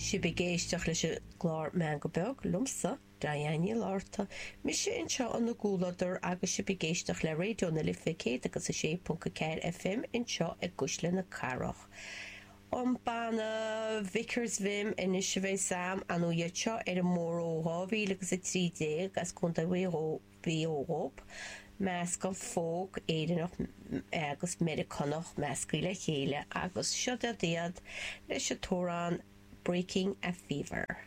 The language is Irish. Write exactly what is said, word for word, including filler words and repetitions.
Sibh ag éisteacht leis an gclár Meangadh Beag liomsa, Diane Ní Fhlatharta, mise anseo ina gcomhluadar agus sibh ag éisteacht le Raidió na Life céad agus a sé ponc a ceathair FM anseo i gCuisle na Cathrach. An banna Vickers Vim anois a bheas agam an iad seo ar an mbóthar ó dhá mhíle agus a trí déag as Contae Mhaigh Eo Mhaigh Eo dhóibh, meascán folk Éireannach agus Meiriceánach measctha le chéile agus seo iad leis an t-amhrán Breaking a Fever.